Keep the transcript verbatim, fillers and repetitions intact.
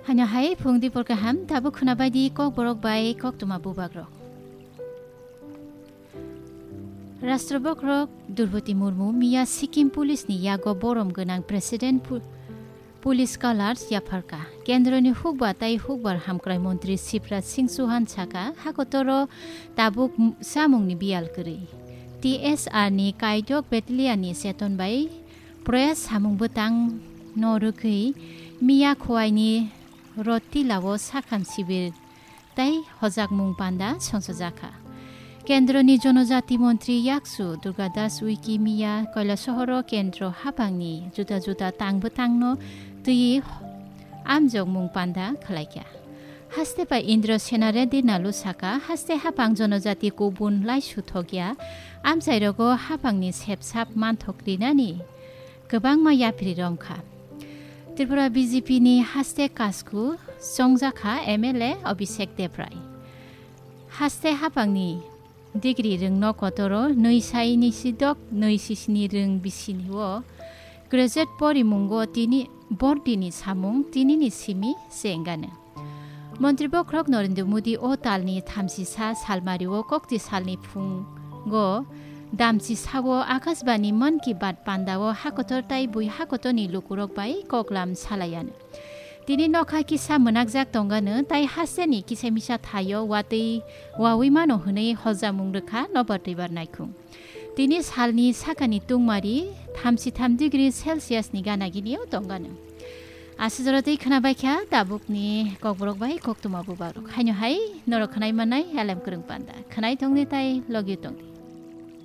Ano hai phung dipor kaham, tabuk khwna bai di Kokborok bai koktwma bubagrok. Rashtra Bokrok Droupadi Murmu miya Sikkim Police ni yago borom gwnang President pu-, Police Colors yapharka. Kendroni hukba tai hukbar hamkrai montri Shivraj Singh Chauhan saka, hakotoro tabuk m-, samungni biyal kwrwi. T S R ni kaidok battalion ni cheton bai proyas samung bwtang no rwgwi miya Khowaini Rotila o sakham sibir tai hojakmung panda songchajakha. Kendroni Jonojati Montri Yaksu Durga Das Uiki miya Kailasohoro Kendro hapangni juda juda tang bwtangno twiwi amjokmung panda khwlaikha. Haste bai Indra Sena Reddy Nalu saka, haste hapang Jonojati kubun laisu thokya, amchairogo hapangni sepsap manthok rinani kwbangma yapri romkha. Tripura B J P ni haste kasku chongjakha M L A Abhishek Debrai. Haste hapangni degree rwngno kotoro nwi sai nwi sidok nwi sisini rwng bisini o graduate porimungo tini bordini samung tinini simi se wngano. Montri Bokhorok Narendra Modi o talni thamsisa salmario kokti salni phungo damchisao Akashbani Mann Ki Baat pandao hakotor tai bui hakotorni lukurok bai koklam salaiano. Tini nokha kisa mwnakjak tongano tai hasteni kisa misa thaio watwi wawi mano hwnwi hojamung rwkha nobar twibar naikhung. Tini salni sakani tungmari thamsi tham degree Celsius ni gana gini o tongano. Aswk jora twi khwna bai kha tabukni kokborok bai koktwma bubagrok. Haino hai norok khwnai mannai Elem Kwrwng Panda. Khwnai tongdi tai logio tongdi.